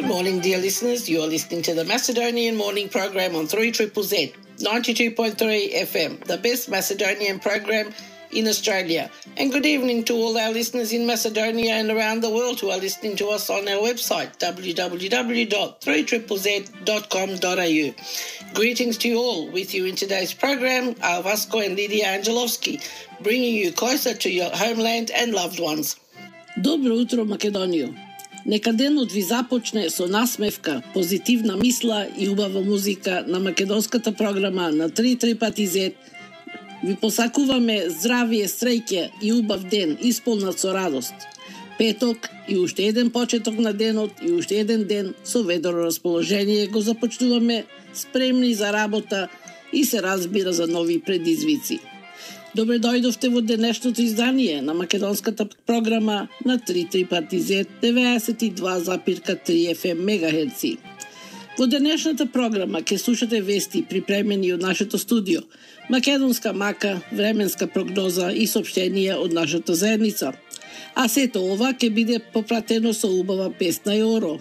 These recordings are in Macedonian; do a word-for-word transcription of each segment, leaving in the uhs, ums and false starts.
Good morning, dear listeners. You are listening to the Macedonian Morning Program on three Z Z Z, ninety-two point three F M, the best Macedonian program in Australia. And good evening to all our listeners in Macedonia and around the world who are listening to us on our website, w w w dot three z z z dot com dot a u. Greetings to you all. With you in today's program are Vasco and Lydia Angelovski, bringing you closer to your homeland and loved ones. Добро утро, Македонијо. Нека денот ви започне со насмевка, позитивна мисла и убава музика на македонската програма на три три пати зет. Ви посакуваме здравие, среќа и убав ден, исполнат со радост. Петок и уште еден почеток на денот и уште еден ден со ведро расположение го започнуваме, спремни за работа и се разбира за нови предизвици. Добре дојдовте во денешното издание на македонската програма на три три пати зет деветдесет и два запирка три Ф М мегахерци. Во денешната програма ќе слушате вести припремени од нашето студио, македонска мака, временска прогноза и соопштенија од нашата заедница. А сето ова ќе биде попратено со убава песна и оро.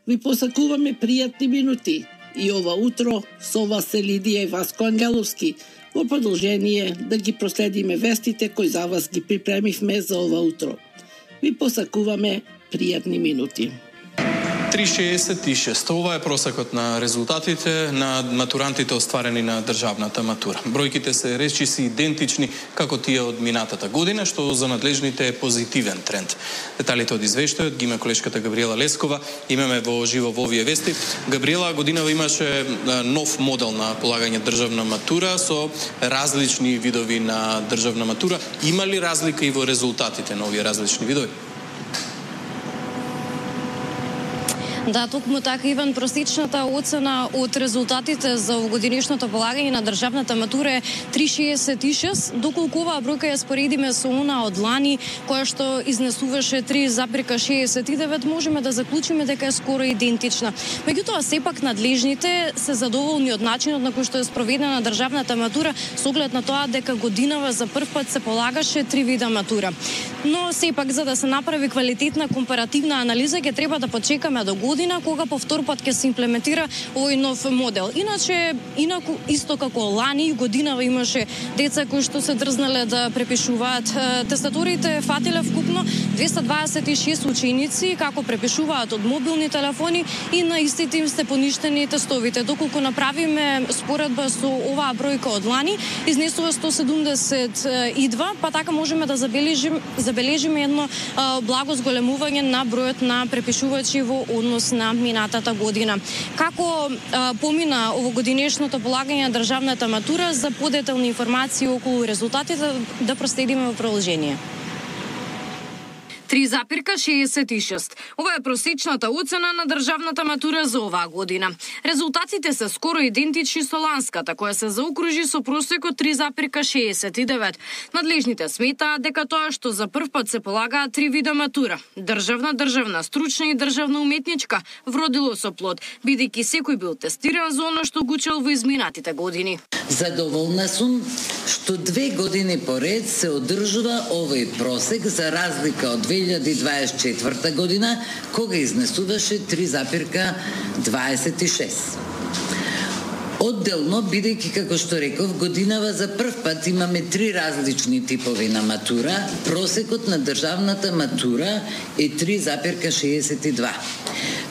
Ви посакуваме пријатни минути и ова утро со вас се Лидија и Васко Ангеловски, во продолжение да ги проследиме вестите кои за вас ги припремивме за ова утро. Ви посакуваме пријатни минути. три шеесет и шест. Ова е просекот на резултатите на матурантите остварени на државната матура. Бројките се речиси идентични како тие од минатата година, што за надлежните е позитивен тренд. Деталите од извештајот ги има колешката Габриела Лескова. Имаме во живо во овие вести. Габриела, годинава имаше нов модел на полагање државна матура со различни видови на државна матура. Има ли разлика и во резултатите на овие различни видови? Да, токму така, Иван, просечната оцена од резултатите за овогодишното полагање на државната матура е три шеесет и шест, доколку оваа бројка ја споредиме со она од лани, која што изнесуваше три запирка шеесет и девет, можеме да заклучиме дека е скоро идентична. Меѓутоа, сепак надлежните се задоволни од начинот на кој што е спроведена државната матура, со оглед на тоа дека годинава за прв пат се полагаше три вида матура. Но сепак, за да се направи квалитетна компаративна анализа, ќе треба да почекаме до година, кога по втор пат ќе се имплементира овој нов модел. Иначе, инаку исто како лани годинава имаше деца кои што се дрзнале да препишуваат тестатурите, фатиле вкупно двеста дваесет и шест ученици како препишуваат од мобилни телефони и на истите им се поништени тестовите. Доколку направиме споредба со оваа бројка од лани, изнесува сто седумдесет и два, па така можеме да забележим, забележиме едно а, благо зголемување на бројот на препишувачи во однос на минатата година. Како а, помина овогодинешното полагање на државната матура, за подетални информации околу резултатите да проследиме во продолжение. три запирка шеесет и шест. Ова е просечната оцена на државната матура за оваа година. Резултатите се скоро идентични со ланската, која се заокружи со просекот три запирка шеесет и девет. Надлежните сметаат дека тоа што за прв пат се полагаат три вида матура, државна, државна стручна и државна уметничка, вродило со плод, бидејќи секој бил тестиран за оно што го учел во изминатите години. Задоволна сум што две години поред се одржува овој просек за разлика од две илјади дваесет и четврта година, кога изнесуваше три запирка дваесет и шест. Одделно, бидејќи, како што реков, годинава за прв пат имаме три различни типови на матура, просекот на државната матура е три запирка шеесет и два.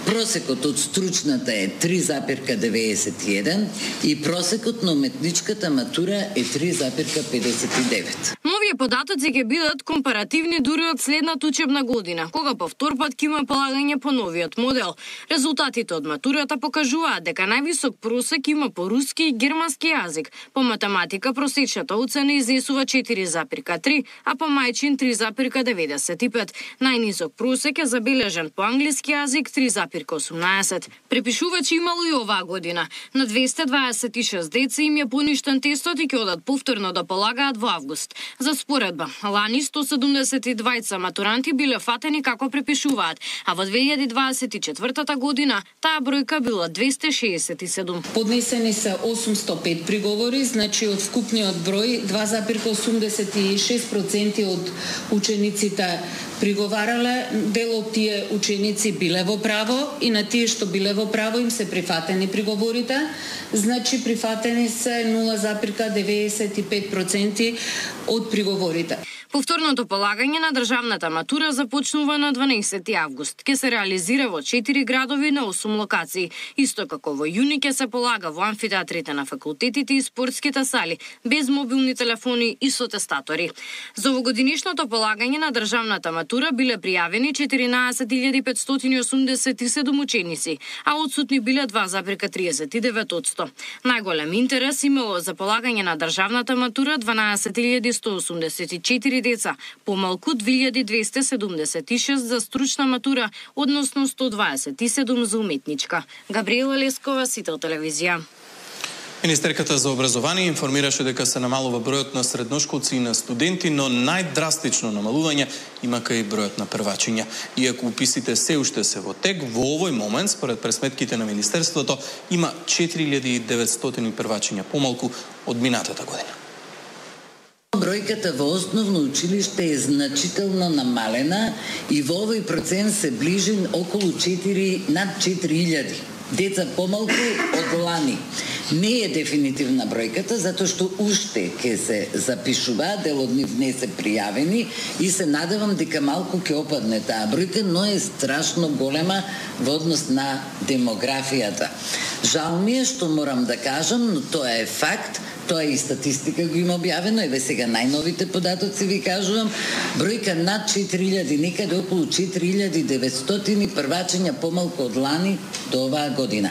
Просекот од стручната е три запирка деветдесет и еден и просекот на уметничката матура е три запирка педесет и девет. Новите податоци ќе бидат компаративни дури од следната учебна година, кога по втор пат ќе има полагање по новиот модел. Резултатите од матурата покажуваат дека највисок просек има по руски и германски јазик. По математика просечната оцена изнесува четири запирка три, а по мајчин три запирка деветдесет и пет. Најнисок просек е забележен по англиски јазик три запирка осумнаесет. Препишувачи имало и оваа година. На двеста дваесет и шест деца им е поништен тестот и ќе одат повторно да полагаат во август. За споредба, лани сто седумдесет и двајца матуранти биле фатени како препишуваат, а во две илјади дваесет и четврта година таа бројка била двеста шеесет и седум. Поднесени се осумсто пет приговори, значи од вкупниот број два запирка осумдесет и шест проценти од учениците приговарале, дел од тие ученици биле во право и на тие што биле во право им се прифатени приговорите, значи прифатени се нула зарез деветдесет и пет проценти од приговорите. Повторното полагање на државната матура започнува на дванаесети август. Ке се реализира во четири градови на осум локации. Исто како во јуни ке се полага во амфитеатрите на факултетите и спортските сали, без мобилни телефони и со тестатори. За овогодинишното полагање на државната матура биле пријавени четиринаесет илјади петстотини и осумдесет и седум ученици, а отсутни биле два зарез триесет и девет одсто. Најголем интерес имало за полагање на државната матура дванаесет илјади сто осумдесет и четири деца, помалку две илјади двесте седумдесет и шест за стручна матура, односно сто дваесет и седум за уметничка. Габриела Лескова, Сител телевизија. Министерката за образование информираше дека се намалува бројот на средношколци и на студенти, но најдрастично намалување има кај бројот на првачиња. Иако уписите се уште се во тек, во овој момент, според пресметките на Министерството, има четири илјади и деветстотини првачиња помалку од минатата година. Бројката во основно училиште е значително намалена и во овој процент се ближи околу четири, над четири илјади. Деца помалку од лани. Не е дефинитивна бројката, затоа што уште ќе се запишува, дел од нив не се пријавени и се надевам дека малку ќе опадне таа бројка, но е страшно голема во однос на демографијата. Жал ми е што морам да кажам, но тоа е факт. Тоа е и статистика го има објавено, еве сега најновите податоци ви кажувам, бројка над четири илјади, некаде околу четири илјади и деветстотини првачиња помалку од лани до оваа година.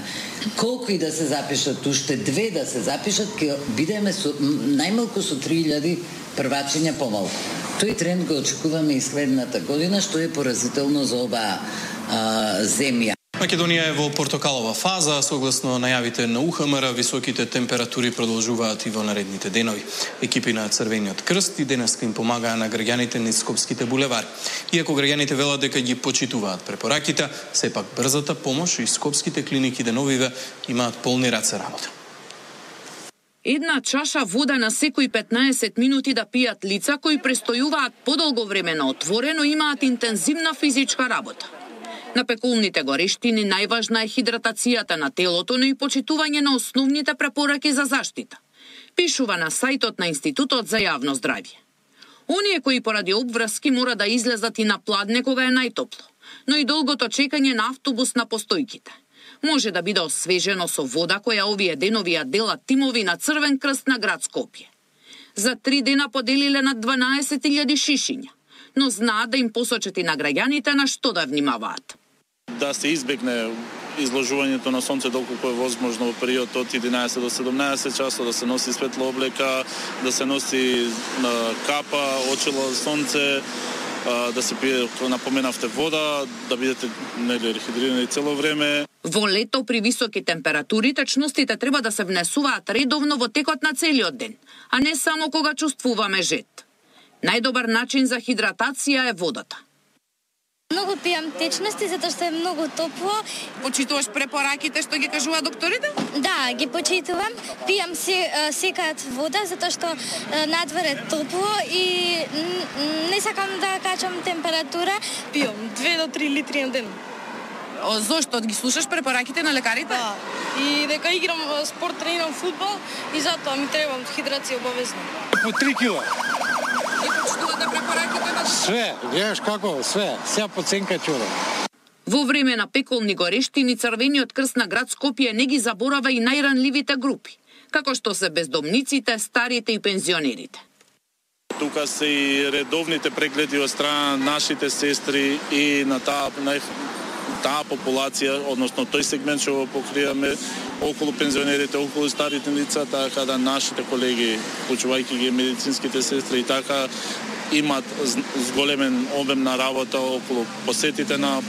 Колку и да се запишат, уште две да се запишат, ќе бидеме со, најмалку со три илјади првачиња помалку. Тој тренд го очекуваме и следната година, што е поразително за оваа а, земја. Македонија е во портокалова фаза, согласно најавите на У Х М Р, високите температури продолжуваат и во наредните денови. Екипи на Црвениот крст и денеска им помагаа на граѓаните низ скопските булевари. Иако граѓаните велат дека ги почитуваат препораките, сепак брзата помош и скопските клиники деновиве имаат полни раце работа. Една чаша вода на секои петнаесет минути да пијат лица кои престојуваат подолго време на отворено, имаат интензивна физичка работа. На пеколните горештини најважна е хидратацијата на телото, но и почитување на основните препораки за заштита. Пишува на сајтот на Институтот за јавно здравје. Оние кои поради обврски мора да излезат и на пладне кога е најтопло, но и долгото чекање на автобус на постојките може да биде освежено со вода која овие денови ја делат тимови на Црвен крст на град Скопје. За три дена поделиле над дванаесет илјади шишиња, но знаат да им посочат и на граѓаните на што да внимаваат. Да се избегне изложувањето на сонце доколку е возможно во период од единаесет до седумнаесет часот, да се носи светла облека, да се носи капа, очила за сонце, да се пие, како напоменавте, вода, да бидете рехидрирани цело време. Во лето при високи температури течностите треба да се внесуваат редовно во текот на целиот ден, а не само кога чувствуваме жет. Најдобар начин за хидратација е водата. Многу пијам течности затоа што е многу топло. Почитуваш препораките што ги кажува докторите? Да, ги почитувам. Пијам се, секаат вода затоа што надвор е топло и не сакам да качам температура. Пијам две до три литри на ден. О, зошто? Ги слушаш препораките на лекарите? Да. И дека играм спорт, тренирам фудбал и затоа ми треба хидрација обавезно. По три кила. И почитувате препораките на... Све, гледаш како, све, сега по ценка чудо. Во време на пеколни горештини Црвениот крст на град Скопје не ги заборава и најранливите групи, како што се бездомниците, старите и пензионерите. Тука се и редовните прегледи од страна на нашите сестри и на таа на таа популација, односно тој сегмент што го покриваме околу пензионерите, околу старите лица, така да нашите колеги, почувајќи ги медицинските сестри, и така имат зголемен обем на работа околу посетите на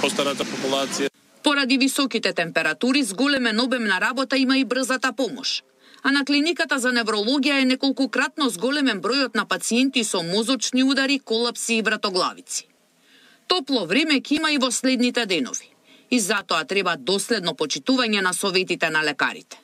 постарата популација. Поради високите температури, зголемен обем на работа има и брзата помош. А на клиниката за неврологија е неколкократно зголемен бројот на пациенти со мозочни удари, колапси и вратоглавици. Топло време ќе има и во следните денови. И затоа треба доследно почитување на советите на лекарите.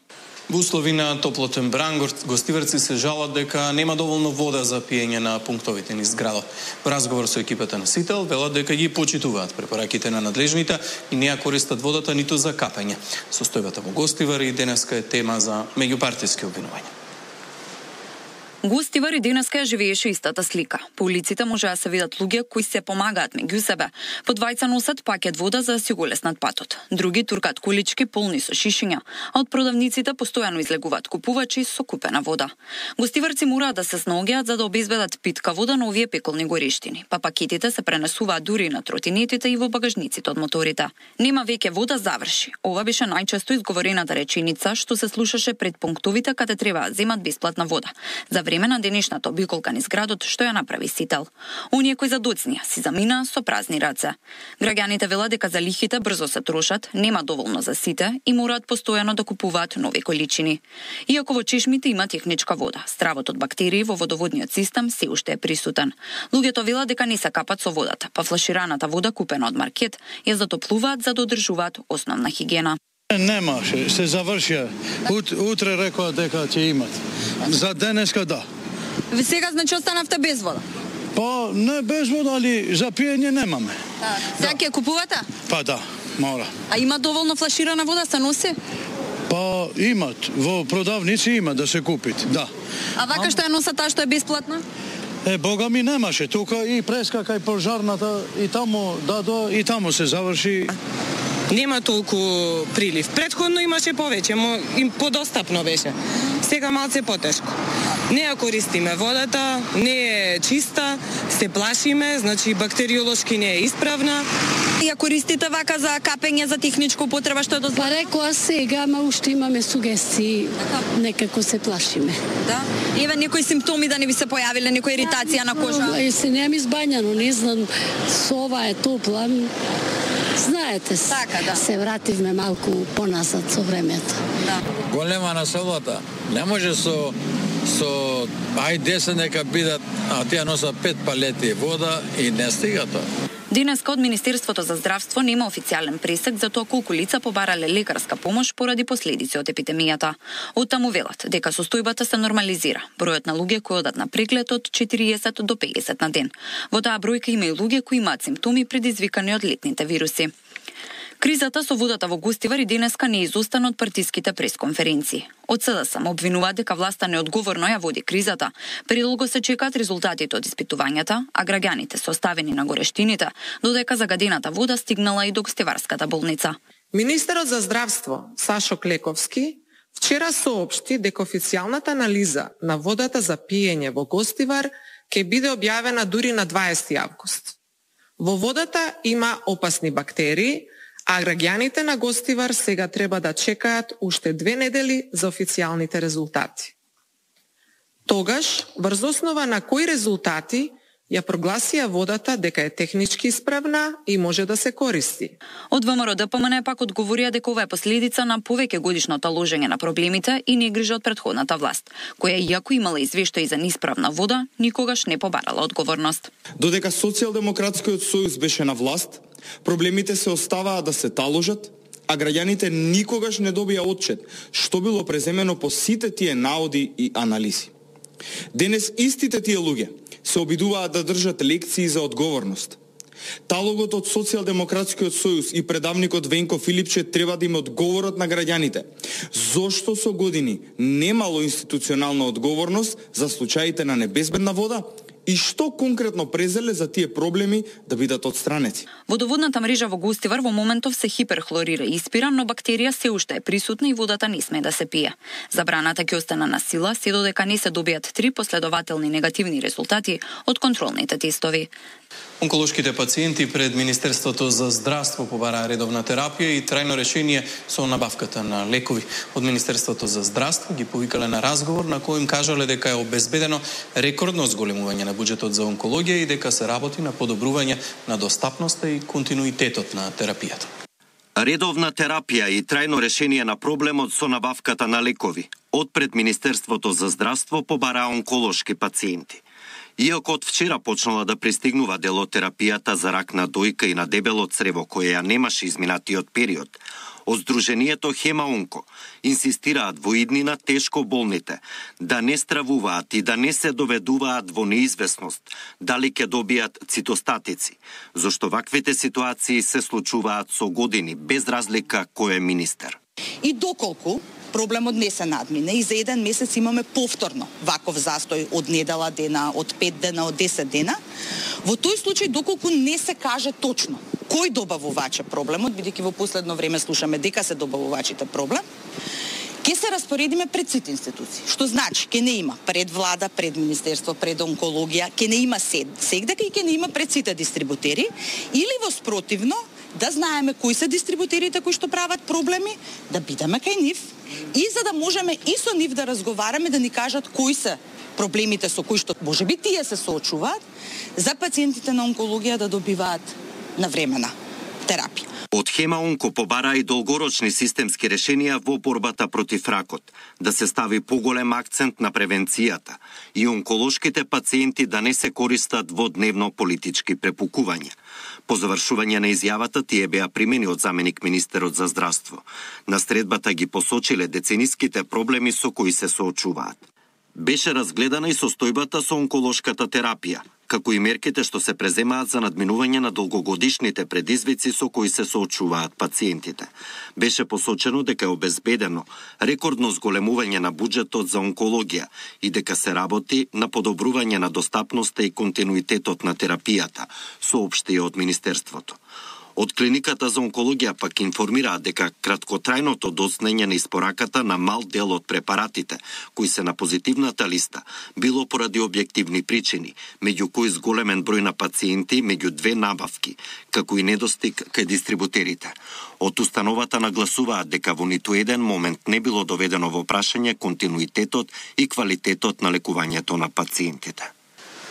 Во услови на топлотен бран, гостиварци се жалат дека нема доволно вода за пиење на пунктовите низ градот. Во разговор со екипата на Сител, велат дека ги почитуваат препораките на надлежните и не ја користат водата ниту за капење. Состојбата во Гостивар и денеска е тема за меѓупартиски обвинувања. Гостивар и денеска ја живееше истата слика. По улиците може да се видат луѓе кои се помагаат меѓу себе. По двајца носат пакет вода за да си го леснат патот. Други туркат колички полни со шишиња, а од продавниците постојано излегуваат купувачи со купена вода. Гостиварци мораат да се снаоѓаат за да обезбедат питка вода на овие пеколни горештини, па пакетите се пренесуваат дури на тротинетите и во багажниците од моторите. Нема веќе вода, заврши. Ова беше најчесто изговорената реченица што се слушаше пред пунктовите каде треба да земат бесплатна вода. За време на денешната обиколка низ градот што ја направи Сител. Оние кои задоцнија си замина со празни раце. Граѓаните велат дека залихите брзо се трошат, нема доволно за сите и мораат постојано да купуваат нови количини. Иако во чешмите има техничка вода, стравот од бактерии во водоводниот систем се уште е присутен. Луѓето велат дека не се капат со водата, па флашираната вода купена од маркет ја затоплуваат за да одржуваат основна хигиена. Немаше, се завршија. Ут, утре рекоа дека ќе имат. За денеска да. Ви сега значи останавте без вода? Па не без вода, али за пиење немаме. Да. Сега ќе купувате? Па да, мора. А има доволно флаширана вода се носи? Па имат, во продавници има да се купит, да. А вака што ја носат таа што е бесплатна? Е, бога ми немаше, тука и преска кај пожарната и таму дадо и таму се заврши. Нема толку прилив. Претходно имаше повеќе, но им подостапно беше. Сега малце потешко. Не ја користиме водата, не е чиста, се плашиме, значи бактериолошки не е исправна. Ја користите вака за капење, за техничко употреба, што е дозволено? Па рекоа сега, ама уште имаме сугестии, некако се плашиме. Да? Еве некои симптоми да не ви се појавиле, некоја иритација на кожа? Е, се немам избањано, не знам, сова е топла. Знаете, така, да. Се вративме малку поназад со времето. Да. Голема насолата. Не може со со ај десет нека бидат, а тие носат пет палети вода и не стига тоа. Денеска од Министерството за здравство нема официјален пресек за тоа колку лица побарале лекарска помош поради последици од епидемијата. Оттаму велат дека состојбата се нормализира. Бројот на луѓе кои одат на преглед од четириесет до педесет на ден. Во таа бројка има и луѓе кои имаат симптоми предизвикани од летните вируси. Кризата со водата во Гостивар и денеска не изостана од партиските пресконференции. Од СДС обвинуваат дека власта неодговорно ја води кризата. Предолго се чекаат резултатите од испитувањата, а граѓаните се оставени на горештините, додека загадената вода стигнала и до Гостиварската болница. Министерот за здравство Сашо Клековски вчера соопшти дека официјалната анализа на водата за пиење во Гостивар ќе биде објавена дури на дваесети август. Во водата има опасни бактерии, а граѓаните на Гостивар сега треба да чекаат уште две недели за официјалните резултати. Тогаш, врз основа на кои резултати ја прогласија водата дека е технички исправна и може да се користи. Од ВМРО Д П М Н пак одговорија дека ова е последица на повеќе годишно таложење на проблемите и негрижа од претходната власт, која иако имала извештаи за неисправна вода, никогаш не побарала одговорност. Додека Социјалдемократскиот сојуз беше на власт, проблемите се оставаа да се таложат, а граѓаните никогаш не добија отчет што било преземено по сите тие наоди и анализи. Денес истите тие луѓе се обидуваат да држат лекции за одговорност. Талогот од Социјалдемократскиот сојуз и предавникот Венко Филипче треба да им одговорат на граѓаните зошто со години немало институционална одговорност за случаите на небезбедна вода и што конкретно презеле за тие проблеми да бидат отстранети. Водоводната мрежа во Гостивар во моментов се хиперхлорира и испира, но бактерија се уште е присутна и водата не сме да се пие. Забраната ќе остане на сила се додека не се добијат три последователни негативни резултати од контролните тестови. Онколошките пациенти пред Министерството за здравство побараа редовна терапија и трајно решение со набавката на лекови. Од Министерството за здравство ги повикале на разговор на кој им кажале дека е обезбедено рекордно зголемување на буџетот за онкологија и дека се работи на подобрување на достапноста и континуитетот на терапијата. Редовна терапија и трајно решение на проблемот со набавката на лекови. Од пред Министерството за здравство побараа онколошки пациенти. Иако од вчера почнала да пристигнува дел од терапијата за рак на дојка и на дебело црево која ја немаше изминатиот период, Од Сдруженијето Хемаонко инсистираат во иднина тешко болните да не стравуваат и да не се доведуваат во неизвестност дали ќе добијат цитостатици, зашто ваквите ситуации се случуваат со години, без разлика кој е министер. И доколку проблемот не се надмине и за еден месец имаме повторно ваков застој од недела дена, од пет дена, од десет дена, во тој случај доколку не се каже точно кој добавуваче проблемот, бидејќи во последно време слушаме дека се добавувачите проблем, ќе се распоредиме пред сите институции. Што значи, ќе не има пред влада, пред министерство, пред онкологија, ќе не има сед, сегдека и ќе не има пред сите дистрибутери, или во спротивно, да знаеме кои се дистрибутерите кои што прават проблеми, да бидеме кај нив и за да можеме и со нив да разговараме, да ни кажат кои се проблемите со кои што можеби тие се соочуваат, за пациентите на онкологија да добиваат навремена терапија. Од Хемаонко побара и долгорочни системски решенија во борбата против ракот, да се стави поголем акцент на превенцијата и онколошките пациенти да не се користат во дневно политички препукувања. По завршување на изјавата тие беа примени од заменик министерот за здравство. На средбата ги посочиле децениските проблеми со кои се соочуваат. Беше разгледана и состојбата со онколошката терапија, како и мерките што се преземаат за надминување на долгогодишните предизвици со кои се соочуваат пациентите. Беше посочено дека е обезбедено рекордно зголемување на буџетот за онкологија и дека се работи на подобрување на достапноста и континуитетот на терапијата, соопшти од Министерството. Од клиниката за онкологија пак информираат дека краткотрајното доцнење на испораката на мал дел од препаратите, кои се на позитивната листа, било поради објективни причини, меѓу кои зголемен број на пациенти меѓу две набавки, како и недостиг кај дистрибутерите. Од установата нагласуваат дека во ниту еден момент не било доведено во прашање континуитетот и квалитетот на лекувањето на пациентите.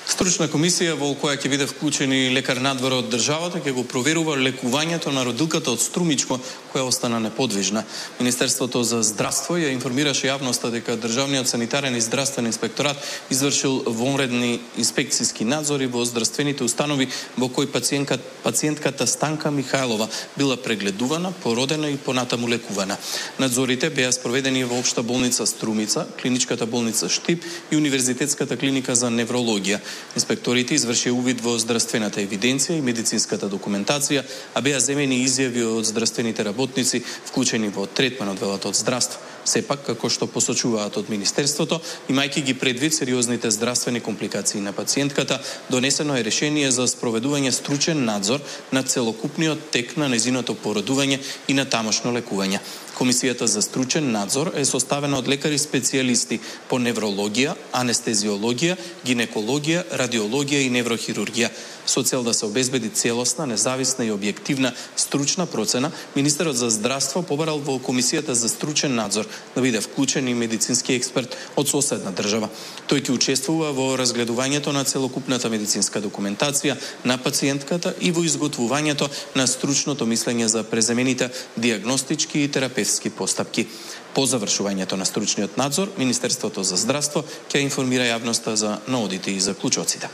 Стручна комисија во која ќе биде вклучени лекар надвор од државата ќе го проверува лекувањето на родилката од Струмичко која остана неподвижна. Министерството за здравство ја информираше јавноста дека државниот санитарен и здравствен инспекторат извршил вонредни инспекцијски надзори во здравствените установи во кои пациентката, пациентката Станка Михајлова била прегледувана, породена и понатаму лекувана. Надзорите беа спроведени во Општа болница Струмица, Клиничката болница Штип и Универзитетската клиника за неврологија. Инспекторите извршија увид во здравствената евиденција и медицинската документација, а беа земени изјави од здравствените работници вклучени во третман од велата од здравство. Сепак, како што посочуваат од Министерството, имајќи ги предвид сериозните здравствени компликации на пациентката, донесено е решение за спроведување стручен надзор на целокупниот тек на незиното породување и на тамошно лекување. Комисијата за стручен надзор е составена од лекари специјалисти по неврологија, анестезиологија, гинекологија, радиологија и неврохирургија. Со цел да се обезбеди целосна, независна и објективна стручна процена, Министерот за здравство побарал во Комисијата за стручен надзор да биде вклучен и медицински експерт од соседна држава. Тој ќе учествува во разгледувањето на целокупната медицинска документација на пациентката и во изготвувањето на стручното мислење за преземените диагностички и терапевтски постапки. По завршувањето на стручниот надзор, Министерството за здравство ќе информира јавноста за наодите и заклучоците.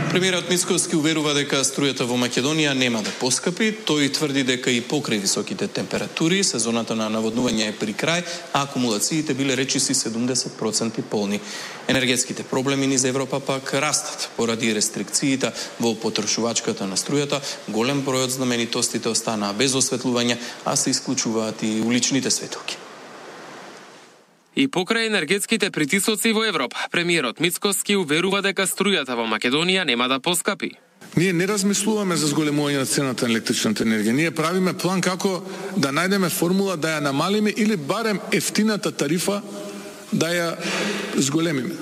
Премиерот Мицкоски уверува дека струјата во Македонија нема да поскапи. Тој тврди дека и покрај високите температури, сезоната на наводнување е при крај, а акумулациите биле речиси седумдесет проценти полни. Енергетските проблеми низ Европа пак растат поради рестрикциите во потрошувачката на струјата. Голем број од знаменитостите останаа без осветлување, а се исклучуваат и уличните светилки. И покрај енергетските притисоци во Европа, премиерот Мицкоски уверува дека струјата во Македонија нема да поскапи. Ние не размислуваме за зголемување на цената на електричната енергија. Ние правиме план како да најдеме формула да ја намалиме или барем ефтината тарифа да ја зголемиме.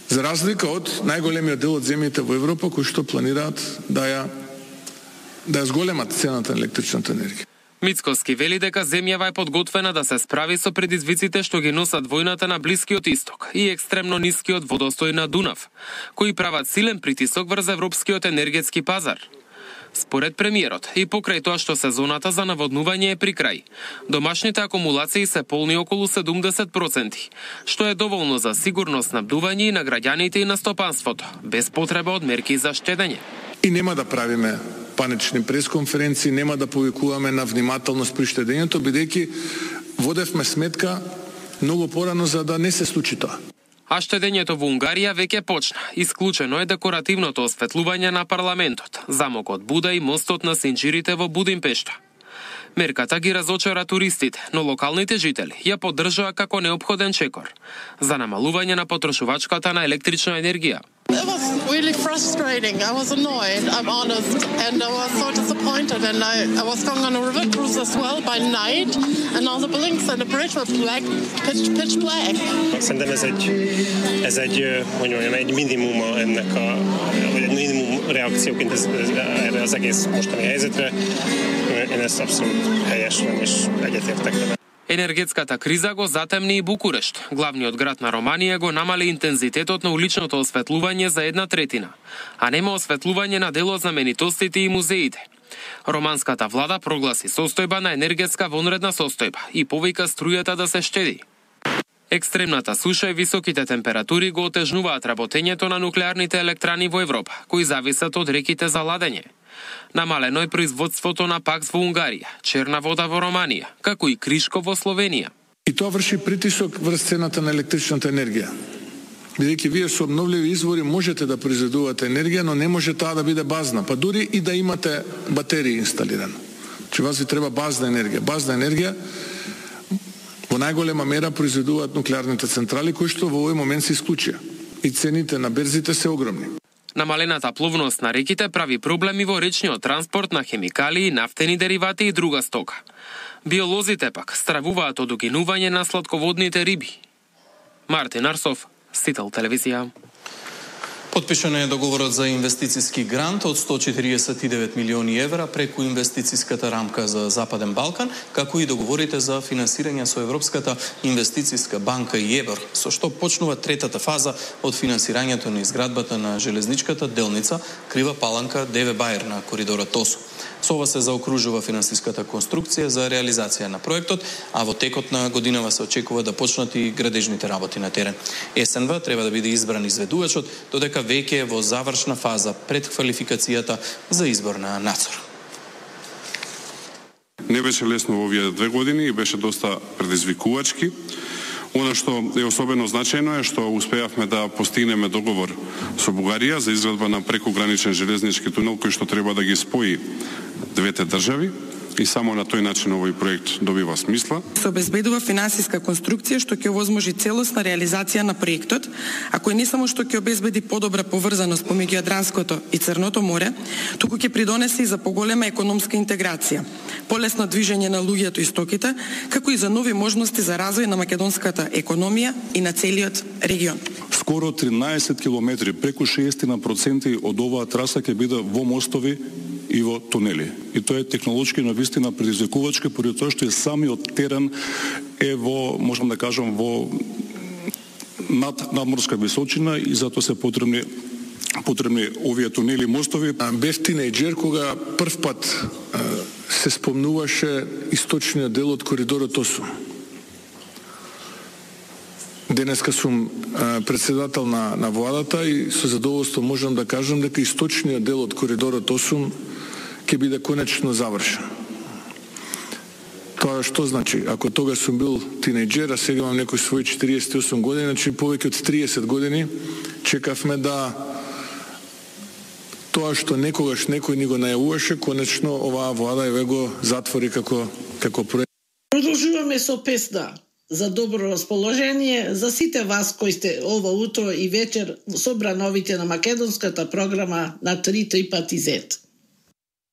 За разлика од најголемиот дел од земјите во Европа кои што планираат да ја да ја зголемат цената на електричната енергија. Мицкоски вели дека земјава е подготвена да се справи со предизвиците што ги носат војната на Блискиот Исток и екстремно нискиот водостој на Дунав, кои прават силен притисок врз европскиот енергетски пазар. Според премиерот, и покрај тоа што сезоната за наводнување е при крај, домашните акумулации се полни околу седумдесет проценти, што е доволно за сигурно снабдување и на граѓаните и на стопанството, без потреба од мерки за штедење. И нема да правиме панични пресконференции, нема да повикуваме на внимателност при штедењето, бидејќи водевме сметка многу порано за да не се случи тоа. А штедењето во Унгарија веќе почна. Исклучено е декоративното осветлување на парламентот, замокот Буда и мостот на Синџирите во Будимпешта. Мерката ги разочара туристите, но локалните жители ја поддржаа како неопходен чекор за намалување на потрошувачката на електрична енергија. It was really frustrating. I was annoyed, I'm honest, and I was so disappointed. And I, I was going on a river cruise as well by night, and all the buildings and the bridge were black, pitch, pitch black. Szerintem ez egy, ez egy, hogy mondjam, egy minimum ennek a, vagy egy minimum reakcióként ez, ez, erre az egész mostani helyzetre. Én ezt abszolút helyesen és egyetértek vele. Енергетската криза го затемни и Букурешт. Главниот град на Романија го намали интензитетот на уличното осветлување за една третина, а нема осветлување на дел од знаменитостите и музеите. Романската влада прогласи состојба на енергетска вонредна состојба и повика струјата да се штеди. Екстремната суша и високите температури го отежнуваат работењето на нуклеарните електрани во Европа, кои зависат од реките за ладење. Намалено е производството на пакс во Унгарија, черна вода во Романија, како и кришко во Словенија. И тоа врши притисок врз цената на електричната енергија. Бидејќи вие со обновливи извори можете да произведувате енергија, но не може таа да биде базна, па дури и да имате батерии инсталирано. Че вас ви треба базна енергија. Базна енергија во најголема мера произведуваат нуклеарните централи, кои што во овој момент се исклучија. И цените на берзите се огромни. Намалената пловност на реките прави проблеми во речниот транспорт на хемикалии, нафтени деривати и друга стока. Биолозите пак стравуваат од угинување на сладководните риби. Мартин Арсов, Сител телевизија. Подпишан е договорот за инвестициски грант од сто четиридесет и девет милиони евра преку инвестициската рамка за Западен Балкан, како и договорите за финансирање со Европската инвестициска банка и ЕБР, со што почнува третата фаза од финансирањето на изградбата на железничката делница Крива Паланка Деве Бајер на коридорот Осо. Со ова се заокружува финансиската конструкција за реализација на проектот, а во текот на годинава се очекува да почнат и градежните работи на терен. СНВ треба да биде избран изведувачот, додека веќе е во завршна фаза пред квалификацијата за избор на надзор. Не беше лесно во овие две години и беше доста предизвикувачки. Она што е особено значајно е што успеавме да постигнеме договор со Бугарија за изградба на прекограничен железнички тунел кој што треба да ги спои двете држави и само на тој начин овој проект добива смисла. Се обезбедува финансиска конструкција што ќе овозможи целосна реализација на проектот, а кој не само што ќе обезбеди подобра поврзаност помеѓу Јадранското и Црното море, туку ќе придонесе и за поголема економска интеграција, полесно движење на луѓето и стоките, како и за нови можности за развој на македонската економија и на целиот регион. Скоро тринаесет километри, преку шеесет проценти од оваа траса ќе биде во мостови и во тунели. И тоа е технолошки навистина предизвикувачка, поради тоа што е самиот терен е во, можам да кажам, во над надморска височина и затоа се потребни потребни овие тунели и мостови. Бев тинејџер кога прв пат се спомнуваше источниот дел од коридорот Осо. Денеска сум председател на, на владата и со задоволство можам да кажам дека источниот дел од коридорот Осо ќе биде конечно завршен. Тоа што значи? Ако тога сум бил тинејџер, а сега имам некои своји четириесет и осум години, значи повеќе од триесет години чекавме да тоа што некогаш некој ни го најавуваше, конечно оваа влада еве го затвори како како проект. Продолжуваме со песна за добро расположение за сите вас кои сте ова утро и вечер собрановите на македонската програма на три три пати зет.